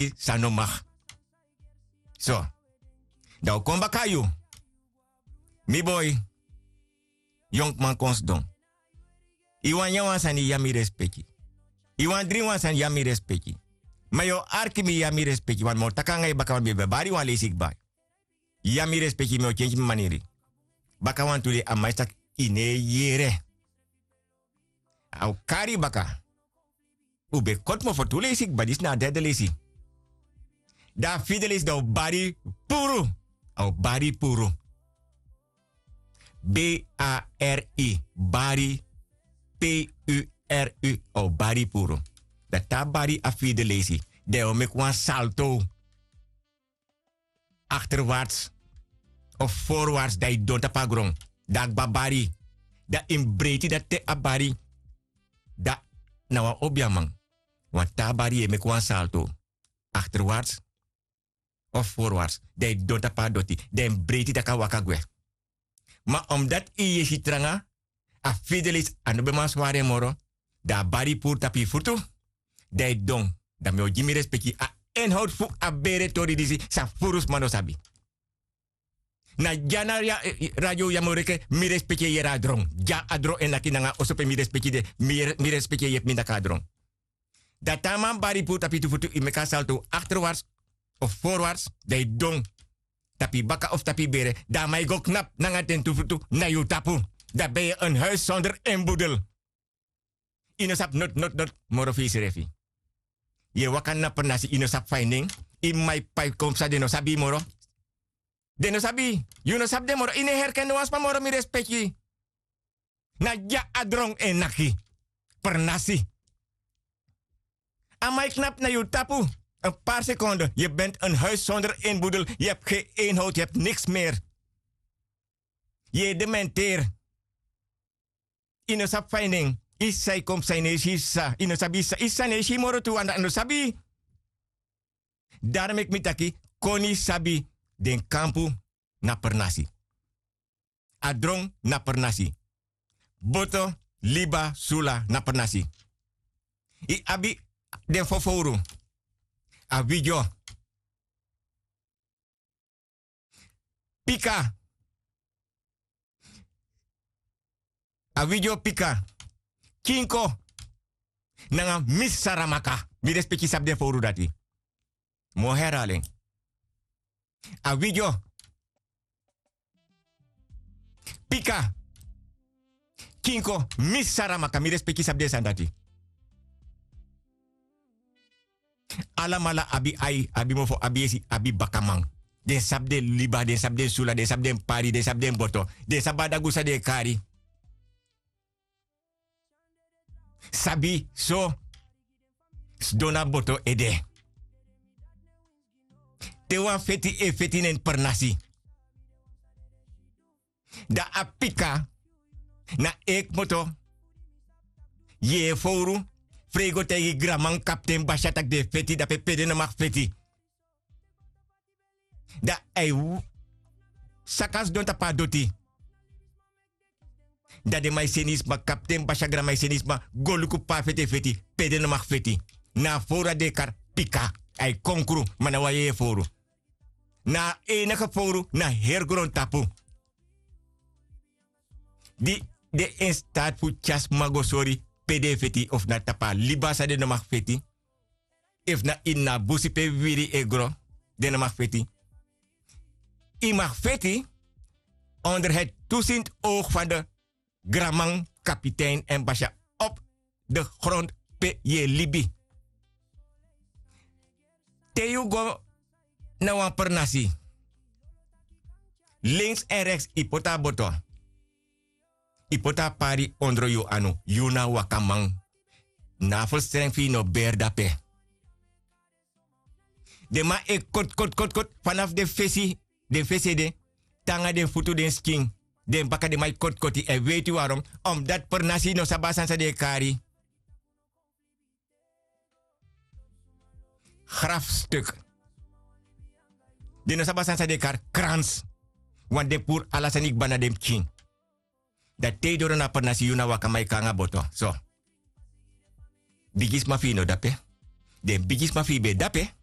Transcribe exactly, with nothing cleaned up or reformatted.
sabi san no maki. So, dan un kon baka na yu. Mi boi, yonkman kon sidon. Yu wani nyan wan sani, yu abi mi respeki. Yu wani dringi wan sani, yu abi mi respeki. Ma yu o arki mi, yu abi mi respeki. Wan mi o taki nanga yu baka, wan mi ben bari wan leisi kba. Yu abi mi respeki, mi o kenki mi maniri. Baka wantu dei a man e taki, yu no e yere. A o kari yu baka. Un ben koti mofo tu leisi kba, disi na a derde leisi. Dan a fide leisi dan un bari puru. A o bari puru. B A R I, bari, P U R U, a o bari puru. Dan te a bari a fide leisi, dan yu o meki wan salto. Achterwaarts of voorwaarts, dan yu don tapu a gron. Dan a kba bari. Dan yu mus breiti dati te a bari. Dan na wan obiaman. Wan taa bari yu e meki wan salto. Achterwaarts of voorwaarts. Dan yu don tapu a doti. Dan yu mus breiti tak' a waka gwe. Ma omdat yu yesi tranga, a fide leisi a no ben man swari en moro. Dan a bari puru tapu yu futu. Dan yu don. Dan mi o gi mi respeki. A inhoud fu a bere tori disi, san furu sma no sabi. Na dya na radio ya mi o reke, mi respeki e yere a dron. Dya a dron e naki nanga oso pe mi respeki de, mi respeki e yepi mi naki a dron. Dan te a man bari puru tapu yu tu futu, yu meki a salto achterwaarts of voorwaarts, dan yu don. Tapu yu baka of tapu yu bere, dan a man e go knapu nanga den tu futu na yu tapu. Dan ben yu en huis zonder inboedel. Yu no sabi noti noti noti moro fu yusrefi. Yu e waka na pernasi, yu no sabi fa yu nen. Yu mama e pai kon psa, den no sabi yu moro. Den no sabi yu. Yu no sabi den moro. Yu no e herken no wan sma moro, mi respeki. Na dya a dron e naki. Pernasi. A man e knapu na yu tapu. Een paar seconden. Je bent een huis zonder inboedel. Je hebt geen inhoud, je hebt niks meer. Yu e dementeer. Yu no sabi fa yu nen. Yu sisa e kon psa, yu no e si yu sisa. Yu no sabi yu sisa, yu sisa no e si yu moro tu, want a no sabi yu. Daro meki mi taki, koni sabi, den kampu na pernasi. A dron na pernasi. Boto, liba, sula na pernasi. Yu abi den fofowru. A widyo. Pika. A widyo pika. Kinko. Nanga Miss Saramaka. Mi respeki, sabi den fowru dati. Mi o herhaal en. A widyo. Pika. Kinko, Miss Saramaka, mi respeki, sabi den sani dati. Alamala abi ai, abi mofo, abi yesi, abi bakaman. Den sabi den liba, den sabi den sula, den sabi den pari, den sabi den boto. Den sabi a dagu san den e kari. Sabi so, sidon na boto ede. Te wan feti e feti na ini pernasi, dan a pika na e kmoto. Yere fowru, fu e go taigi granman, kapten Basia, tak' den e feti, dape pe den no mag feti. Dan a e saka sidon tapu a doti. Dan den man e seni sma, kapten Basia granman e seni sma go luku pe a feti e feti, pe den no mag feti. Na a fowru dati den e kari pika. A e konkru, ma na wan yeye fowru. Na a enige fowru na heri grontapu di de in staat fu tyari sma go sori pe den e feti, of na tapu a liba san den no mag feti, efu na ini a busi pe wiwiri e gro, den no mag feti. Yu mag feti onder het toezicht oog van de granman, kapitein èn Basia op de grond pe yu e libi. Te yu go na wan pernasi, links en rechts yu poti a boto. Yu poti a pari ondro yu anu, yu na wakaman. Na a ferstrengi fu yu no beri dape. Den man e koti koti koti koti, fanafu den fesi, den fesi ede te nanga den futu, den skin, den baka, den man e koti koti. Èn weiti warom? Omdat pernasi no sabi a sani san den e kari. Grafstuk. Den no sabi a sani san den e kari krans. Want den puru ala sani kba na den pikin. Dan te yu doro na pernasi, yu na wakaman, yu kon nanga boto. So, bigisma fu yu no de ape. Den bigisma fu yu ben de ape.